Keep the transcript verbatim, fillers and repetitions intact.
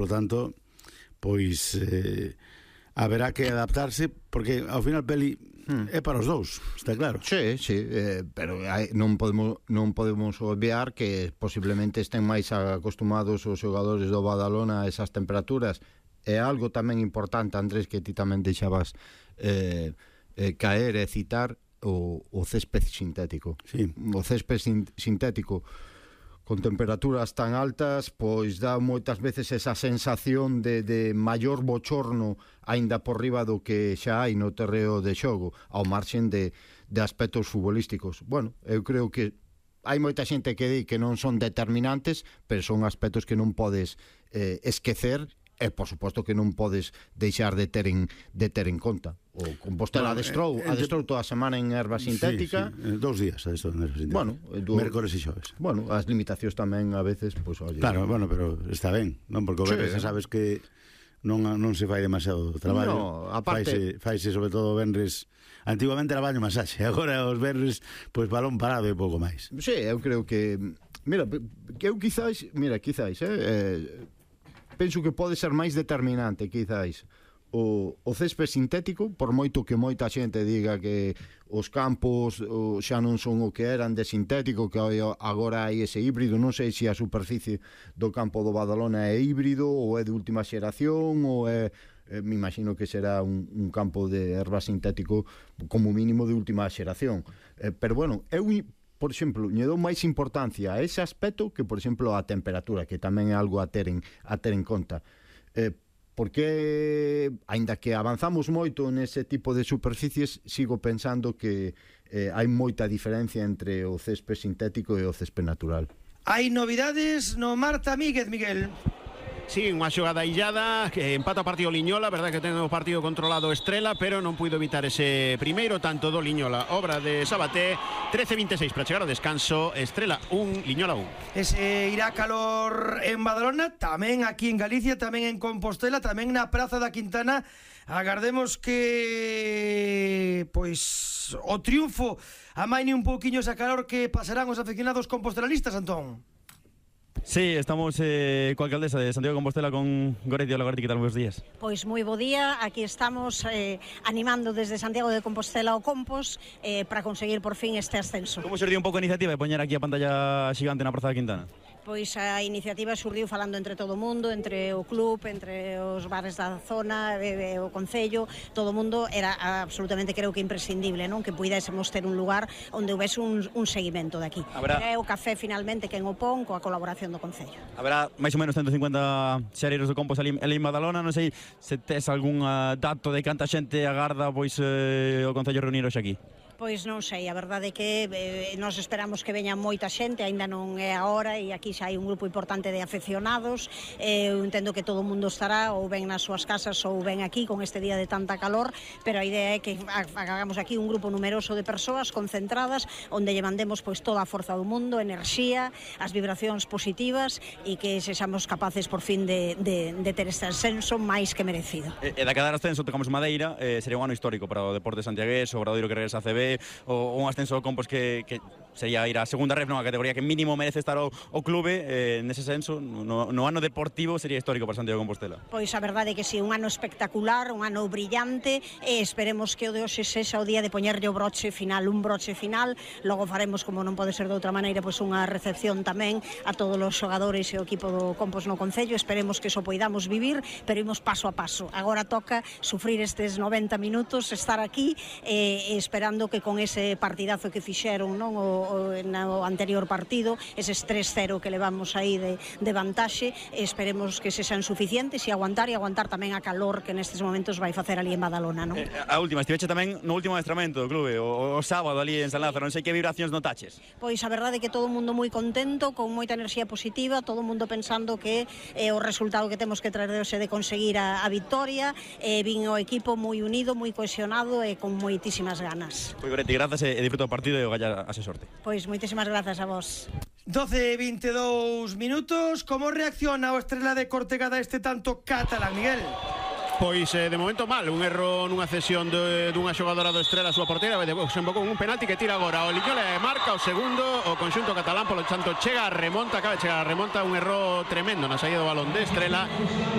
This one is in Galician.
Por lo tanto, pois eh, haberá que adaptarse, porque ao final Peli hmm. é para os dous, está claro. Sí, sí, eh, pero hai, non podemos non podemos obviar que posiblemente estén máis acostumados os xogadores do Badalona a esas temperaturas. É algo tamén importante, Andrés, que ti tamén deixabas eh, eh, caer e citar o, o césped sintético. Sí. O césped sin, sintético con temperaturas tan altas, pois dá moitas veces esa sensación de, de maior bochorno aínda por riba do que xa hai no terreo de xogo, ao marxen de, de aspectos futbolísticos. Bueno, eu creo que hai moita xente que di que non son determinantes, pero son aspectos que non podes eh, esquecer, e por suposto que non podes deixar de ter en, de ter en conta. O Compostela adestrou, adestrou toda a semana en erva sintética. Sí, sí, dous días adestrou en erva sintética. Bueno, do, mércores e xoves. Bueno, as limitacións tamén a veces, pois, pues, oye. Claro, bueno, pero está ben, non? Porque o sí, venres, sabes que non non se fai demasiado traballo. No, aparte, faise, faise sobre todo venres. Antigamente era baño masaxe, agora os venres pois balón parado e pouco máis. Sí, eu creo que mira, que eu quizáis, mira, quizáis, eh, eh penso que pode ser máis determinante, quizáis, o, o césped sintético, por moito que moita xente diga que os campos o, xa non son o que eran de sintético, que agora hai ese híbrido. Non sei se a superficie do campo do Badalona é híbrido ou é de última xeración ou é, eh, me imagino que será un, un campo de erva sintético como mínimo de última xeración, eh, pero bueno, eu por exemplo, lle dou máis importancia a ese aspecto que, por exemplo, a temperatura, que tamén é algo a ter en, a ter en conta. Eh, porque, aínda que avanzamos moito nese tipo de superficies, sigo pensando que eh, hai moita diferencia entre o césped sintético e o césped natural. Hai novidades no Marta Míguez, Miguel. Sí, unha xogada illada, que empata o partido Liñola, verdad que ten o partido controlado Estrela, pero non puido evitar ese primeiro tanto do Liñola, obra de Sabaté. Trece veintiséis para chegar ao descanso. Estrela un, Liñola un. Ese irá calor en Badalona, tamén aquí en Galicia, tamén en Compostela, tamén na Praza da Quintana. Agardemos que pois o triunfo amaine un pouquiño esa calor que pasarán os aficionados compostelalistas, Antón. Sí, estamos eh, coa alcaldesa de Santiago de Compostela, con Goretti. Hola, Goretti, que tal? Buenos días. Pois moi bo día, aquí estamos eh, animando desde Santiago de Compostela o Compos eh, para conseguir por fin este ascenso. Como xurdiu un pouco a iniciativa de poñer aquí a pantalla xigante na Praza da Quintana? Pois a iniciativa xurdiu falando entre todo o mundo, entre o club, entre os bares da zona, e, e, o concello, todo o mundo. Era absolutamente, creo que imprescindible, non? Que puidésemos ter un lugar onde houvese un, un seguimento daqui. Habrá... É o café finalmente quen o pon coa colaboración do concello. Habrá máis ou menos ciento cincuenta xareiros do Compos ali en Badalona. Non sei se tes algún uh, dato de canta xente agarda pois eh, o concello reunir hoxe aquí. Pois non sei, a verdade é que eh, nós esperamos que veña moita xente, aínda non é a hora, e aquí xa hai un grupo importante de aficionados. eh, eu entendo que todo o mundo estará ou ben nas súas casas ou ben aquí con este día de tanta calor, pero a idea é que hagamos aquí un grupo numeroso de persoas concentradas, onde lle mandemos pois toda a forza do mundo, enerxía, as vibracións positivas, e que sexamos capaces por fin de, de, de ter este ascenso máis que merecido. E, e da quedar ascenso tocamos Madeira, eh, sería un ano histórico para o deporte santiagués, o Obradoiro que regresa a C B, o un ascenso do Compos que, que sería ir a segunda ref, nunha categoría que mínimo merece estar o, o clube. Eh, nese senso, no, no ano deportivo sería histórico para Santiago de Compostela. Pois a verdade é que si, un ano espectacular, un ano brillante, e esperemos que o de hoxe sexa o día de poñerlle o broche final, un broche final. Logo faremos, como non pode ser de outra maneira, pois unha recepción tamén a todos os xogadores e o equipo do Compos no concello. Esperemos que eso poidamos vivir, pero imos paso a paso. Agora toca sufrir estes noventa minutos, estar aquí eh, esperando que con ese partidazo que fixeron, non, o, o, no anterior partido, eses tres cero que levamos aí de, de vantaxe, esperemos que se sean suficientes e aguantar e aguantar tamén a calor que nestes momentos vai facer ali en Badalona, non? Eh, a última, estiveche tamén no último adestramento do clube, o, o sábado ali en San Lázaro, non sei que vibracións notaches. Pois a verdade é que todo o mundo moi contento, con moita enerxía positiva, todo o mundo pensando que é eh, o resultado que temos que traer de hoxe de conseguir a, a victoria, e eh, vin o equipo moi unido, moi cohesionado e con moitísimas ganas. Pois Goretti, grazas e disfruta o partido e o galla a se sorte. Pois moitísimas grazas a vos. doce e veintidós minutos. Como reacciona o Estrela de Cortegada este tanto catalán, Miguel? Pois eh, de momento mal, un erro nunha cesión de, dunha xogadora do Estrela a súa porteira, desembocou un penalti que tira agora o Liñola e marca o segundo, o conxunto catalán polo tanto chega a remonta, acaba de chegar a remonta, un erro tremendo na saída do balón de Estrela.